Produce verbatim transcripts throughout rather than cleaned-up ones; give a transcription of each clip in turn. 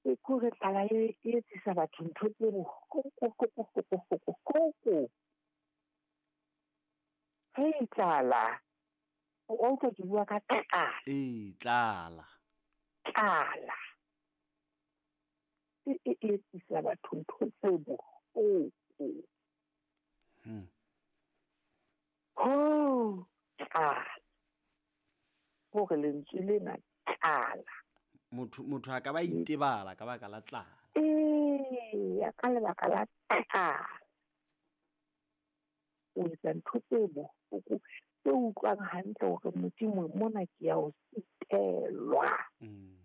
E kore tlala e e etsisa batho ntho tse bohloko. Hei tlala. O utlwa ke bua ka tlala. Ee, tlala. Tlala. E e etsisa batho ntho tse bohloko. Hmm. Ho tlala. Hore lentswe lena tlala. Motho motho a ka ba itebala ka baka la tlala. Ee, ka lebaka la tlala. O etsa ntho tse bohloko tse utlwang hantle hore Modimo mona ke ya o sitelwa. Mm.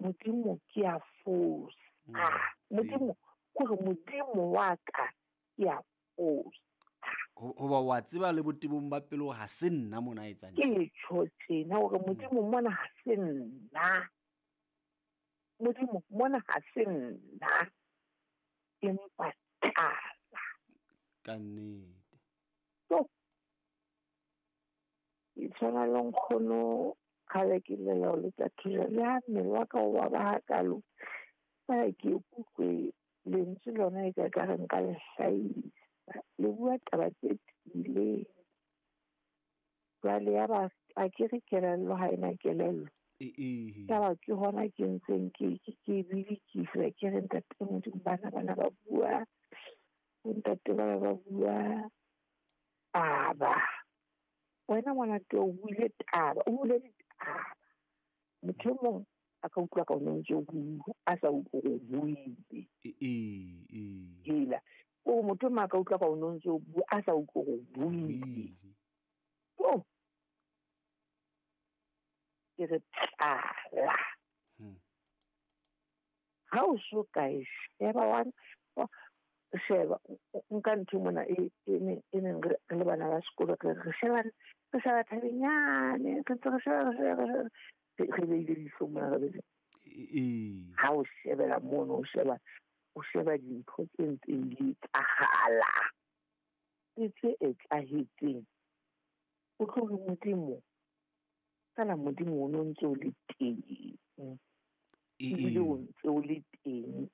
Modimo ke ya fosa. Mm. Modimo kore Modimo wa ka ke ya fosa. Hoba wa tseba le botebong ba pelo ha se nna mona a etsang Ke tjho tjena hore Modimo mona ha se nna. Modimo mona ha se nna. Empa tlala. Ka nnete. So, ke tshwana le nkgono kgale ke llela ho letsa thuso le ha mmele wa ka o baba hakalo. Feela ke ikutlwe lentswe lona e ka ekare nka le hlahisa. Le bua taba tse tiileng. Jwale ya ba a ke re kelello ha ena kelello. Ee. Yaba ke hona ke ntseng ke ke ke bidikisa ke re ntate Modimo bana bana ba bua. Ntate bana ba bua taba. Wena ngwana teng o buile taba, o buile ditaba. Motho e mong a ka utlwa ka o ntse o bua, a sa utlwe hore o buile. Ee, ee. Hela. O motho e mong a ka utlwa ka o ntse o bua, a sa utlwe hore o buile. Oh. Ke re tlala. Hmm. Ha o so ka e sheba wa sheba nka ntho mona e e ne e neng re le bana ba sekolo re re sheba re sheba thabenyane re ntse re sheba re sheba re re beile leihlo mona re beile. Ee. Ha o shebela mono o sheba o sheba dintho tse ntseng di etsahala le tse etsahetseng. O tlo re Modimo fela Modimo o no ntse o le teng. Ebile o ntse o le teng.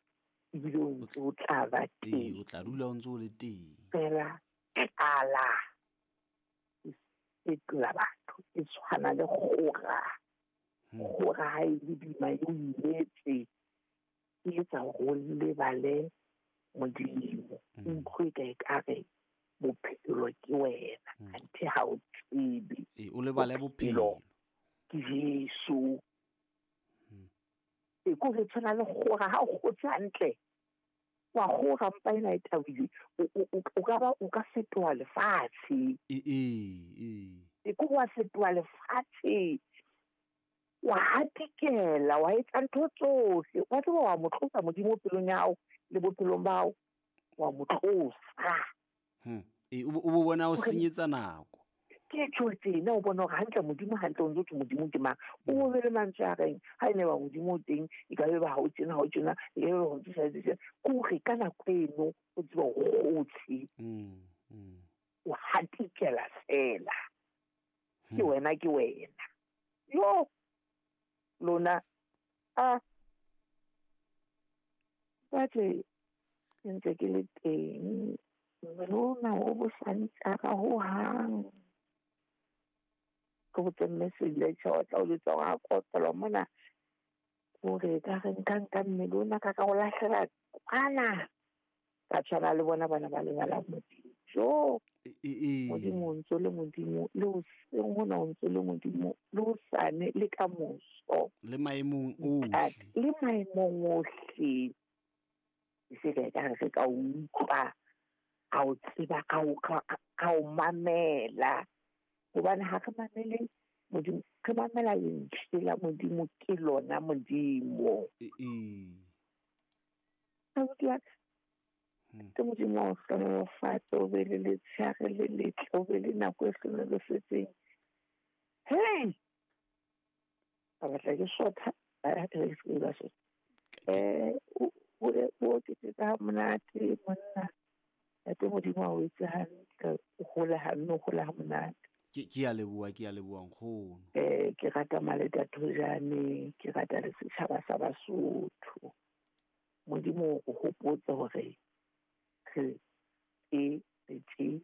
Ebile o ntse o tla ba teng. Ee, o tla dula o ntse o le teng. Fela tlala e tlola batho e tshwana le kgora. Kgora ha e le boima e o imetse. E etsa hore o lebale Modimo. O utlwe ka ekare bophelo ke wena. Anthe ha o tsebe. Ee, o lebale bophelo. Ke Jesu. E ko re tshwana le kgora ha o kgotse hantle. Wa kgora mpa ena e thabile. O ka ba o ka fetoha lefatshe. Ee, ee. E ko wa fetoha lefatshe. Wa hatikela, wa etsa ntho tsohle. Wa tseba wa mo tlosa Modimo pelong ya hao le bophelong ba hao. Wa mo tlosa. Hmm. E o bo bona o senyetsa nako. Ke tjho tjena o bona hore hantle Modimo hantle o ntse o thwe Modimo ke mang. O be le mantswe a reng ha ene ba Modimo o teng e ka be ba ha o tjena ha o tjena e ka be ba ho tjena tjena. Kore ka nako eno o tseba o kgotse. Mm, mm. O hatikela fela. Ke wena ke wena. Yo lona a batse ke ntse ke le teng. Lona o bosantsa ka ho hang. Ke botse message le tjho tla o jwetsa hore ha kotelwa mona hore ka re nka nka mmele ona ka ka o lahlela kwana. Ka tshwana le bona bana ba lebala Modimo. Jo Modimo o ntso le Modimo le hoseng hona o ntso le Modimo le hosane le ka moso. Le maemong ohle. Le maemong ohle. E se ka ekare re ka utlwa. Ka o tseba ka o ka o mamela. Hobane ha re mamele Modimo, re mamela lentswe la Modimo ke lona Modimo. Ee. Abuti wa ka. Ke Modimo wa o hlohonolofatse, o be le letshehare le letle, o be le nako e hlohonolofetseng. Hey! Ka batla ke sotha, ba re se ba sotha. Eh, o o oketsetsa ha monate monna. Ntate Modimo a o etse hantle, o hole ha mme o hole ha monate. Ke ke a leboha, ke a leboha nkgono. Eh ke rata Maleta Thojane, ke rata le setjhaba sa Basotho. Modimo o hopotse hore re e re tje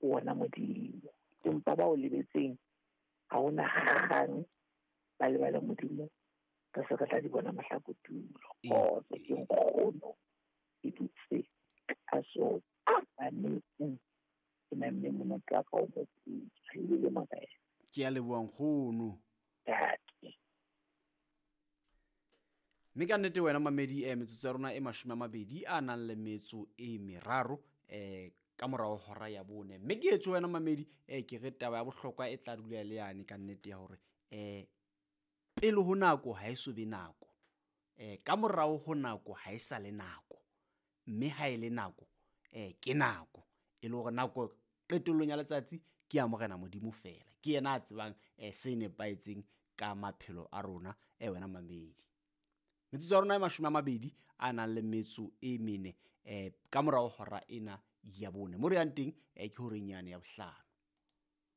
wona Modimo. Empa ba o lebetseng ha hona kgang ba lebala Modimo, re se re tla di bona mahlakotulo. E- Kgotso ke nkgono ke dutse ka so baneng ke namme monate wa ka o moputswa ebile morena. Ke a leboha nkgono. Ntate. Mme ka nnete wena mamedi eh, metsotso ya rona e mashome a mabedi a nang le metso e meraro eh, ka morao hora ya bone. Mme ke etswe wena mamedi eh, ke re taba ya bohlokwa e tla dula le yane ka nnete ya hore eh, pele ho nako ha e so be nako, eh, ka morao ho nako ha e sa le nako, mme ha e le nako eh, ke nako e le hore nako qetellong ya letsatsi ke ya Morena Modimo fela. Ke yena a tsebang eh, se nepahetseng ka maphelo a rona eh, wena mamedi. Metsotso ya rona e mashome a mabedi a nang le metso e mene eh, ka morao hora ena ya bone. Mo re yang teng eh, ke horeng yane ya bohlano.